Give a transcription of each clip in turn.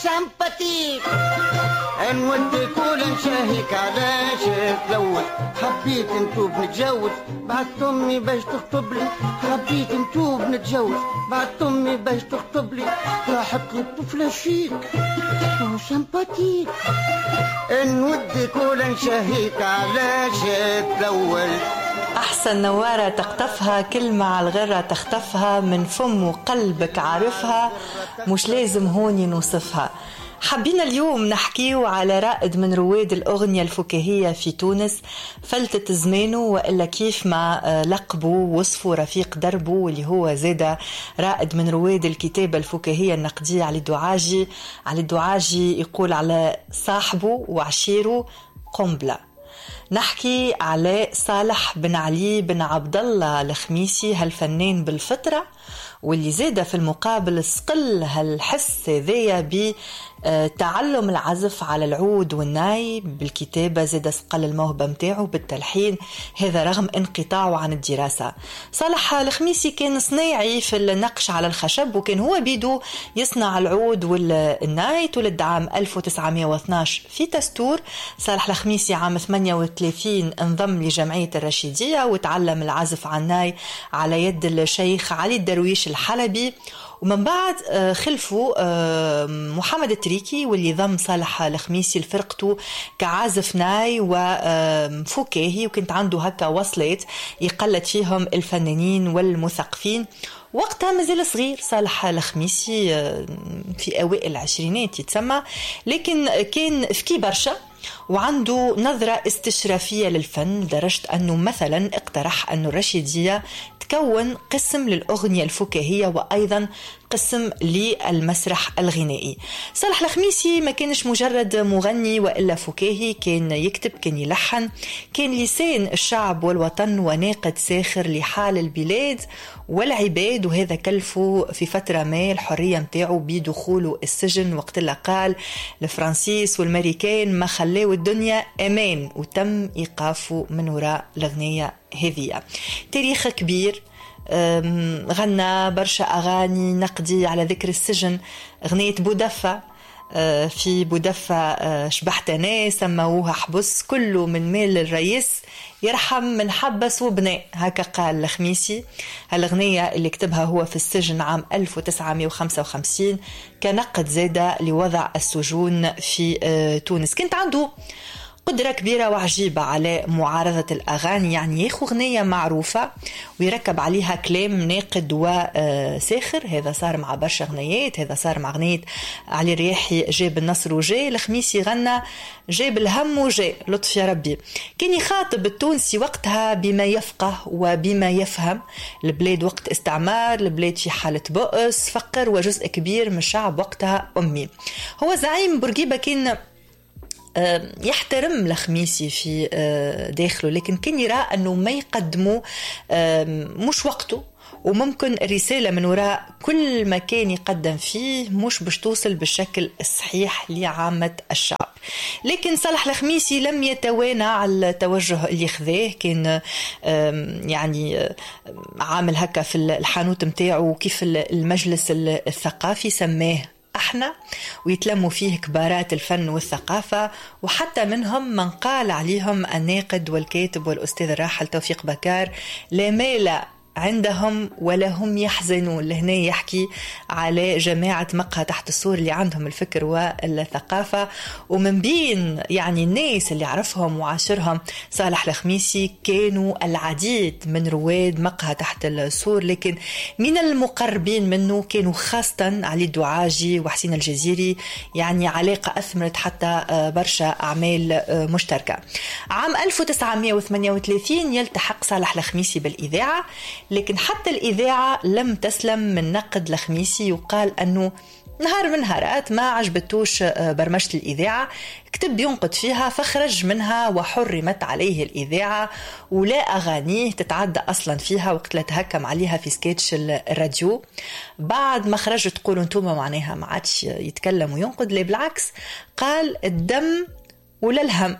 sympathique. نودك ولا نشاهيك علاش تلوث؟ حبيت نتوب نتجوز بعثت امي باش تخطب لي، حبيت نتوب نتجوز بعثت امي باش تخطب لي، راحت لي الطفلة chic و sympathique. نودك ولا نشاهيك علاش تلوث؟ أحسن نوارة تقطفها، كلمة على الغرة تخطفها، من فم وقلبك عارفها، مش لازم هوني نوصفها. حبينا اليوم نحكيو على رائد من رواد الأغنية الفكاهية في تونس، فلتت زمانه وإلا كيف ما لقبه ووصفه رفيق دربه، واللي هو زاد رائد من رواد الكتابة الفكاهية النقدية علي الدعاجي. علي الدعاجي يقول على صاحبه وعشيره قنبلة. نحكي على صالح بن علي بن عبد الله الخميسي، هالفنان بالفطرة واللي زاد في المقابل صقل هالحس هذايا بتعلم العزف على العود والناي، بالكتابة زاد صقل الموهبة متاعه بالتلحين، هذا رغم انقطاعه عن الدراسة. صالح الخميسي كان صناعي في النقش على الخشب، وكان هو بيدو يصنع العود والناي. تولد عام 1912 في تستور. صالح الخميسي عام 38 انضم لجمعية الرشيدية وتعلم العزف على الناي على يد الشيخ علي الدرويش الحلبي، ومن بعد خلفه محمد التريكي واللي ضم صالح الخميسي لفرقته كعازف ناي وفكاهي، وكانت عنده هكا وصلات يقلد فيهم الفنانين والمثقفين. وقتها مازال صغير صالح الخميسي، في أوائل العشرينات يتسمى، لكن كان ذكي برشا وعنده نظرة استشرافية للفن، لدرجة أنه مثلا اقترح أن الرشيدية تكون قسم للأغنية الفكاهية وأيضا قسم للمسرح الغنائي. صالح الخميسي ما كانش مجرد مغني وإلا فكاهي، كان يكتب، كان يلحن، كان لسان الشعب والوطن وناقد ساخر لحال البلاد والعباد، وهذا كلفه في فترة ما الحرية متاعه بدخوله السجن وقت اللي قال الفرنسيس والماريكان ما خلاو الدنيا أمان، وتم إيقافه من وراء الأغنية هذه. تاريخ كبير، غنى برشا أغاني نقدي على ذكر السجن، أغنية بودفة، في بودفة شبحتنا سموها حبس، كله من مال الرئيس يرحم من حبس وبناء، هكا قال الخميسي. هالأغنية اللي كتبها هو في السجن عام 1955 كنقد زادة لوضع السجون في تونس. كانت عنده قدرة كبيرة وعجيبة على معارضة الأغاني، يعني ياخو أغنية معروفة ويركب عليها كلام ناقد وساخر. هذا صار مع برشا أغنيات، هذا صار مع أغنية علي الرياحي جاب النصر وجاي، الخميسي غنى جاب الهم وجاي، لطف يا ربي. كان يخاطب التونسي وقتها بما يفقه وبما يفهم. البلاد وقت استعمار، البلاد في حالة بؤس، فقر، وجزء كبير من الشعب وقتها أمي. هو زعيم بورقيبة كان يحترم الخميسي في داخله، لكن كان يرى أنه ما يقدمه مش وقته، وممكن الرسالة من وراء كل ما كان يقدم فيه مش باش توصل بالشكل الصحيح لعامة الشعب. لكن صالح الخميسي لم يتوانى على التوجه اللي خذاه، كان يعني عامل هكا في الحانوت متاعه كيف المجلس الثقافي سماه احنا، ويتلموا فيه كبارات الفن والثقافة، وحتى منهم من قال عليهم الناقد والكاتب والأستاذ الراحل توفيق بكار لا مال عندهم ولا هم يحزنون. لهنا يحكي على جماعة مقهى تحت السور اللي عندهم الفكر والثقافة، ومن بين يعني الناس اللي عرفهم وعاشرهم صالح الخميسي كانوا العديد من رواد مقهى تحت السور، لكن من المقربين منه كانوا خاصة علي الدعاجي وحسين الجزيري، يعني علاقة أثمرت حتى برشا أعمال مشتركة. عام 1938 يلتحق صالح الخميسي بالإذاعة، لكن حتى الإذاعة لم تسلم من نقد الخميسي، وقال أنه نهار من نهارات ما عجبتوش برمجة الإذاعة، كتب ينقد فيها فخرج منها وحرمت عليه الإذاعة، ولا أغانيه تتعدى أصلا فيها وقت لا تهكم عليها في سكتش الراديو. بعد ما خرج تقولوا انتم معناها ما عادش يتكلم وينقد، لا بالعكس قال الدم ولا الهم،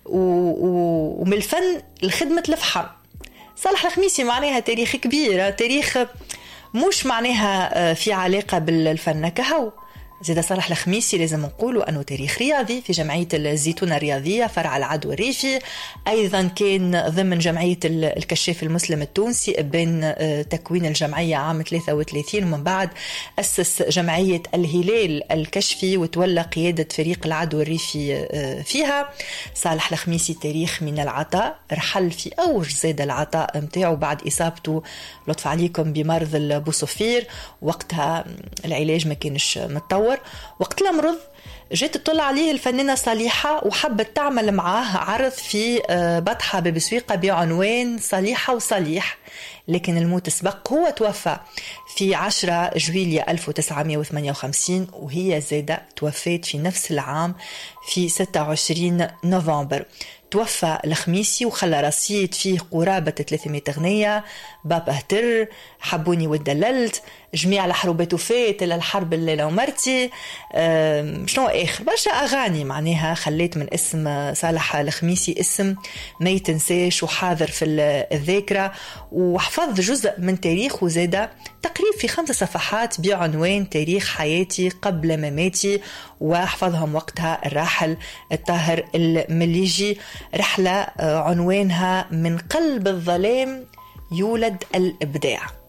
ومن الفن الخدمة الفحم. صالح الخميسي معناها تاريخ كبير، تاريخ مش معناها في علاقة بالفن كهو، زاد صالح الخميسي لازم نقولوا أنه تاريخ رياضي في جمعية الزيتونة الرياضية فرع العدو الريفي، أيضا كان ضمن جمعية الكشاف المسلم التونسي بين تكوين الجمعية عام 33، ومن بعد أسس جمعية الهلال الكشفي وتولى قيادة فريق العدو الريفي فيها. صالح الخميسي تاريخ من العطاء، رحل في أوج زاد العطاء متاعه بعد إصابته لطف عليكم بمرض البوصفير، وقتها العلاج ما كانش متطور. وقت المرض جات تطلع عليه الفنانة صليحة وحبت تعمل معاه عرض في بطحة ببسويقة بعنوان صليحة وصليح، لكن الموت سبق. هو توفى في 10 جويلية 1958، وهي زادة توفت في نفس العام في 26 نوفمبر. توفى الخميسي وخلى رصيد فيه قرابة 300 أغنية، بابا هتر، حبوني ودللت، جميع الحروبات وفات إلى الحرب الليلة ومرتي، شنو آخر برشا أغاني معناها خليت من اسم صالح الخميسي اسم ما يتنساش وحاضر في الذاكرة، وحفظ جزء من تاريخه زادة تقريب في 5 صفحات بعنوان تاريخ حياتي قبل مماتي، وحفظهم وقتها الراحل الطاهر المليجي. رحلة عنوانها من قلب الظلام يولد الإبداع.